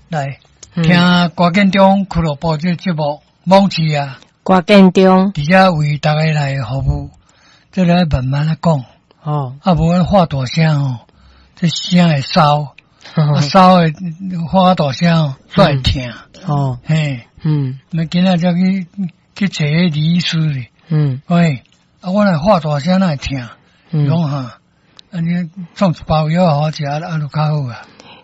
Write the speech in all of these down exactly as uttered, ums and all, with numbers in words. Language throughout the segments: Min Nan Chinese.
來聽歌建中俱樂部這個節目，網誌啊，歌建中佇遮為大家來服務，這個慢慢來講。哦，啊，無阮發大聲吼，這聲會燒，啊燒會發大聲吼，煞會疼。哦，嘿，嗯，那今仔才去去揣彼李醫師咧。嗯，喂，啊，我若發大聲哪會疼？嗯，講哈，按呢創一包藥予我食，啊就較好啊。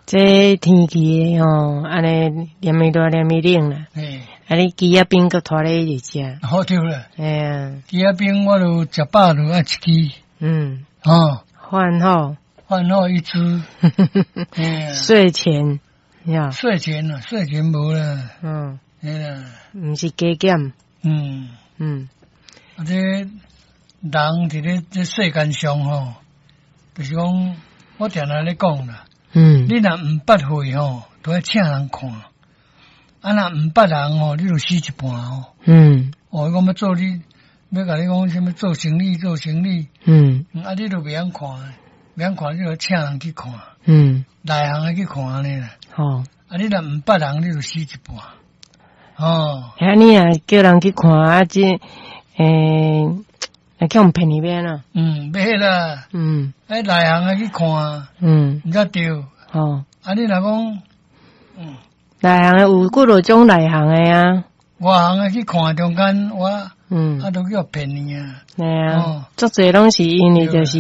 這天氣吼，按呢連綿熱連綿冷啦。嘿，啊，你枝仔冰閣拖咧一直食。好對啦。嘿啊，枝仔冰我就食飽就愛一支。嗯。哦。飯後。飯後一支。睡前。呀。睡前啊，睡前無啦。嗯。嘿啦。毋是加減。嗯。嗯。啊，這人佇咧這世間上吼，就是講，我定定咧講啦。嗯。你若毋捌戲吼，都愛請人看。啊，若毋捌人吼，你就死一半哦。嗯。哦，伊講欲做你，欲共你講啥物做生理，做生理。嗯。啊，你都袂曉看，袂曉看，你就請人去看。嗯。內行的去看按呢啦。哦。啊，你若毋捌人，你就死一半。哦。遐你若叫人去看啊，這，欸，會去予騙去欲按怎？嗯，袂啦。嗯。欸，內行的去看。嗯。毋才對。哦。啊，你若講，嗯。內行的有幾落種內行的啊。外行的去看中間，我，嗯，啊，都叫騙去啊。嘿啊，足濟攏是因為就是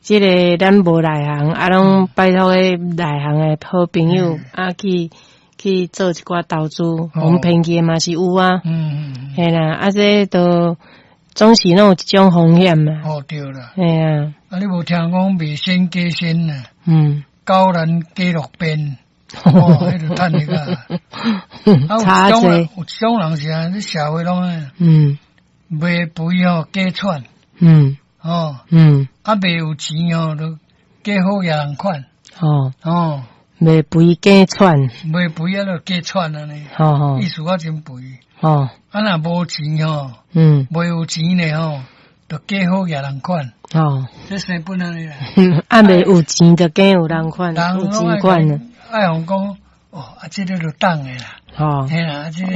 這個咱無內行，啊，攏拜託彼內行的好朋友啊去去做一寡投資，予騙去的嘛是有啊。嗯嗯。嘿啦，啊，這都總是攏有一種風險嘛。哦，對啦。嘿啊。啊，你無聽講賣身假身啊？嗯。狗難雞落便。哦，彼就趁那個。啊，有一種人，有一種人是按呢，社會攏按呢。嗯。賣肥吼假喘。嗯。哦。嗯。啊，賣有錢吼，就假好額人款。哦。哦。賣肥假喘。賣肥啊，就假喘按呢。吼吼。意思我真肥。哦。啊，若無錢吼。嗯。袂有錢咧吼，就假好額人款。哦。這生本按呢啦。啊，袂有錢就假有人款，有錢款。愛予講，哦，啊，這個就當的啦。哦。嘿啦，啊，這個。